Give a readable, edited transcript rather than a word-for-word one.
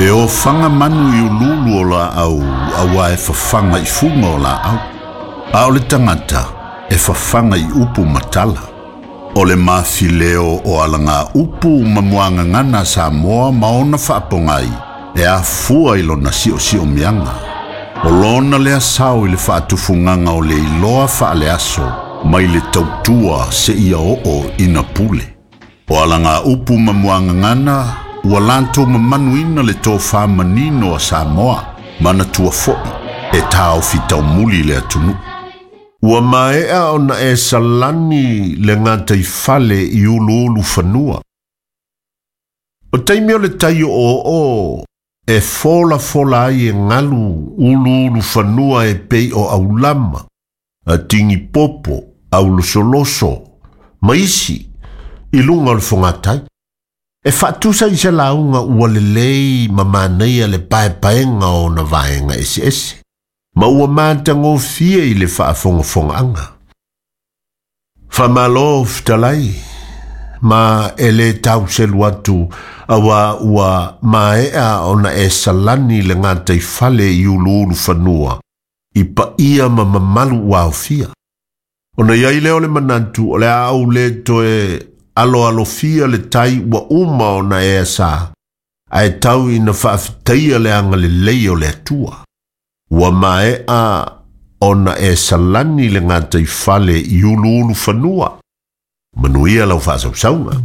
E ofaga manu i uluulu o laau auā e fafaga i fuga o laau. A o le tagata e fafaga i upu ma tala. O le mafileo o alagaupu ma muagagana a Samoa ma ona faapogai e afua i lona siosiomiaga. O lona lea sao i le faatufugaga o le iloa faaleaso mai le tautua seia oo ina pule. O alagaupu ma muagagana ua latou mamanuina le tofā manino a Samoa manatua foi e taofi taumuli le atunuu. Ua maea ona e salani le gataifale i uluulufanua. O taimi o le tai o'oo'o e folafola ai e galu uluulufanua e pei o aulama, a tigipopo, aulosoloso, ma isi i luga o le fogatai. E faatusa i se lauga ua lelei ma manaia le paepaega o ona vaega eseese, ma ua matagofie i le faafogafogaaga. Faamalo fetalai, ma e lē tauselu atu auā ua maea ona e salani le gataifale i uluulufanua i paia ma mamalu ua aofia. Ona i ai lea o le manatu o le a ou lē toe aloalofia le tai ua uma ona e asā, ae tau ina faafetaia le agalelei o le Atua. Ua maea ona e salani le gataifale i uluulufanua. Manuia lau faasausauga.